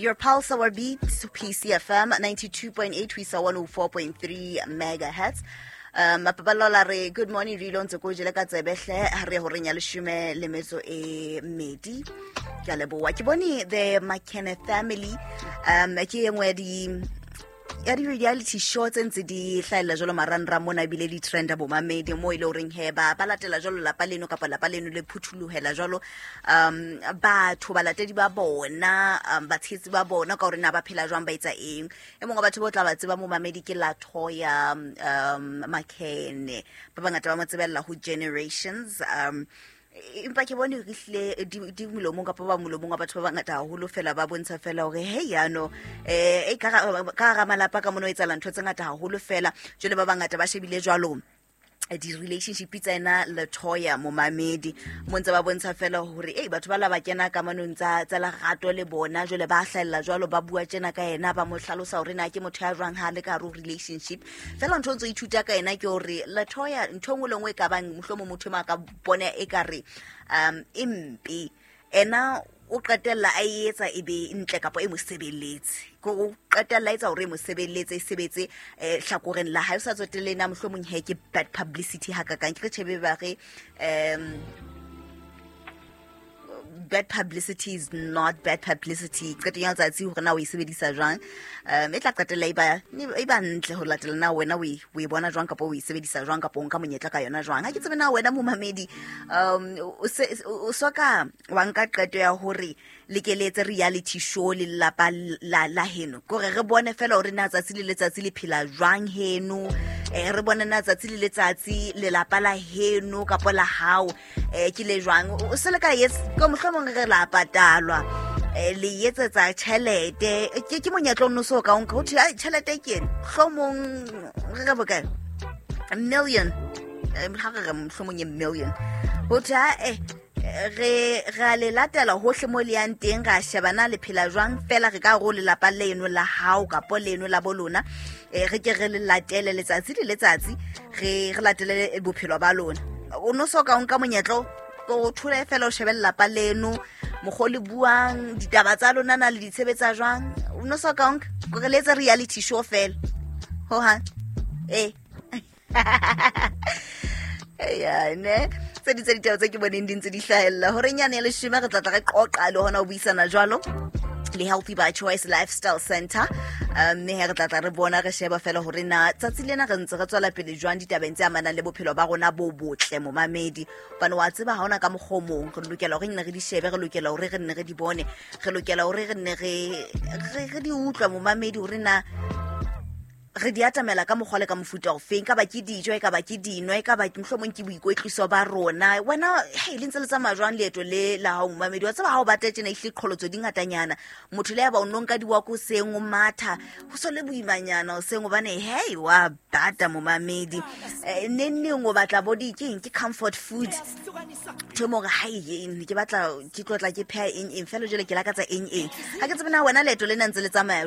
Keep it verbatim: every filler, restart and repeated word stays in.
Your Pulse Our Beat, P C F M ninety-two point eight ho isa one oh four point three megahertz. Um, Mapabalola re good morning re ilo ntse ko jele ka tsebe hle ha re horeng ya leshome le metso e mmedi. Ke a leboha. Ke bone the Makhene family, um, ke e nngwe ya di ya di reality show tse ntse di hlahella jwalo marangrang mona, ebile di trenda bomamedi mo e le horeng he ba, ba latela jwalo lapa leno kapa lapa leno le phuthulohela jwalo, um, batho balatedi ba bona, um, batshehetsi ba bona ka hore na ba phela jwang, ba etsa eng. E mong wa batho bo tla ba tseba momamedi ke Latoya, um, Makhene, ba bangata ba mo tsebella ho Generations. Um, empa ke bone re hlile di, di molomong kapa ba molomong wa batho ba bangata haholo fela ba bontsha fela hore hey yano, eh, e ka ra-, ka hara malapa ka mona ho etsahala ntho tse ngata haholo fela. Jwale ba bangata ba shebile jwalo di-relationship tsa ena Latoya momamedi, mo ntse ba bontsha fela hore ei batho ba la ba kena kamanong tsa, tsa lerato le bona, jwale ba hlahella jwalo, ba bua tjena ka yena, ba mo hlalosa hore na ke motho ya jwang ha le ka hare ho relationship. Fela ntho o ntso ithuta ka yena ke hore Latoya ntho e nngwe le nngwe e ka bang mohlomong motho e mong a ka bona ekare, um, e mpe, ena o qetella a e etsa e be ntle kapa e mo sebeletse. Ke hore o qetella a etsa hore e mo sebeletse, e sebetse, eh, hlakoreng la hae. O sa tsotelle na mohlomong he ke bad publicity hakakang. Ke re tjhe be ba re, um, bad publicity is not bad publicity. Qetong ya letsatsi hore na o e sebedisa jwang, um, e tla qetella e ba, e ba ntle ho latela na wena o e, o e bona jwang kapa o e sebedisa jwang kapa o nka monyetla ka yona jwang. Ha ke tsebe na wena momamedi, um, o se, o soka wa nka qeto ya hore le ke le etse reality show le lelapa la, la heno, ke hore re bone fela hore na tsatsi le letsatsi le phela jwang heno, eh, re bone na tsatsi le letsatsi lelapa la heno kapa la hao, eh, ke le jwang. O se le ka etse, ke mohlomong re la patalwa, eh, le etsetsa tjhelete, ke, ke monyetla o no so ka o nka, ho thwe, ai, tjhelete ke ena, mohlomong re re bokae, million, eh, ha re re mohlomong e million, ho thwe, ha, eh, re, re a le latela hohle mo le yang teng, ra sheba na le phela jwang fela, re ka re o lelapa leno la hao kapa leno la bo lona, eh, re ke re le latele letsatsi le letsatsi, re, re latele bophelo ba lona. O no so ka o nka monyetla o, o thole fela o shebe lelapa leno, mokgwa o le buang, ditaba tsa lona na le di tshebetsa jwang, o no so ka o nka, kore le etse reality show fela. Hohang. Eh. Ya, ne? Tse di tse ditaba tse ke boneng di ntse di hlahella. Horeng yane ya leshome re tla tla re qoqa le hona ho buisana jwalo le Healthy by Choice Lifestyle Center. Um, mme he re tla tla re bona, re sheba fela hore na tsatsi lena re ntse re tswela pele jwang ditabeng tse amanang le bophelo ba rona bo botle momamedi. Hobane wa tseba ha hona ka mokgwa o mong, re lokela hore re nne re di shebe, re lokela hore re nne re di bone, re lokela hore re nne re, re, re di utlwe momamedi hore na re di atamela ka mokgwa le ka mofuta ofeng, ka ba ke dijo, e ka ba ke dino, e ka ba ke mohlomong ke boikwetliso ba rona. Wena, hei, le ntse le tsamaya jwang leeto le la hao momamedi? Wa tseba ha o batla tjena ehlile qholotso di ngatanyana, motho le ya ba o no nka di-walk hoseng, o matha, ho so le boimanyana hoseng, hobane hei, wa bata momamedi. Eh, neng neng o batla bo di keng, ke comfort food. Ntho e mo hore, hai, eng, ke batla, ke tlo tla ke pheha eng, eng, fela jwale ke lakatsa eng, eng. Ha ke tsebe na wena leeto lena ntse le tsamaya